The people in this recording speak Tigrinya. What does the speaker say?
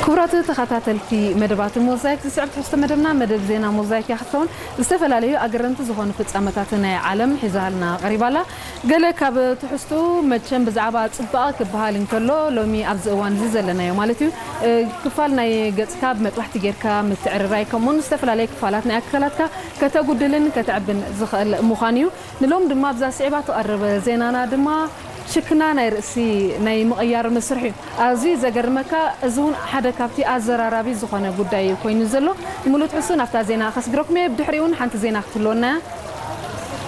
ክቡራት ተኸታተልቲ መደባት ሞዛይክ፣ ዝስዕብ ትሕዝቶ መደብና መደብ ዜና ሞዛይክ እያ ክትከውን። ዝተፈላለዩ ኣገረምቲ ዝኾኑ ፍጻመታት ናይ ዓለም ሒዛልና ቀሪባላ። ገለ ካብ ትሕዝቱ መቸም ብዛዕባ ጽባቐ ክበሃል እንከሎ፣ ሎሚ ኣብዚ እዋን እዚ ዘለናዮ ማለት እዩ፣ እ፣ ክፋል ናይ ገጽካ ብመጥባሕቲ ጌርካ ምትዕርራይ፣ ከምኡውን ዝተፈላለየ ክፋላት ናይ ኣካላትካ ከተጉድልን ከተዕብን ዝኽእል ምዃን እዩ። ንሎም ድማ ኣብዛ ስዒባ ትቐርብ ዜናና ድማ ሽክና ናይ ርእሲ ናይ ምቕያር መስርሕ እዩ። ኣዝዩ ዘገርመካ፣ እዚ እውን ሓደ ካብቲ ኣዘራራቢ ዝኾነ ጉዳይ ኮይኑ ዘሎ። ንምሉእ ትሕዝቱ ናብታ ዜና ከስግረኩም እየ። ብድሕሪኡ እውን ሓንቲ ዜና ክትህልወና እያ።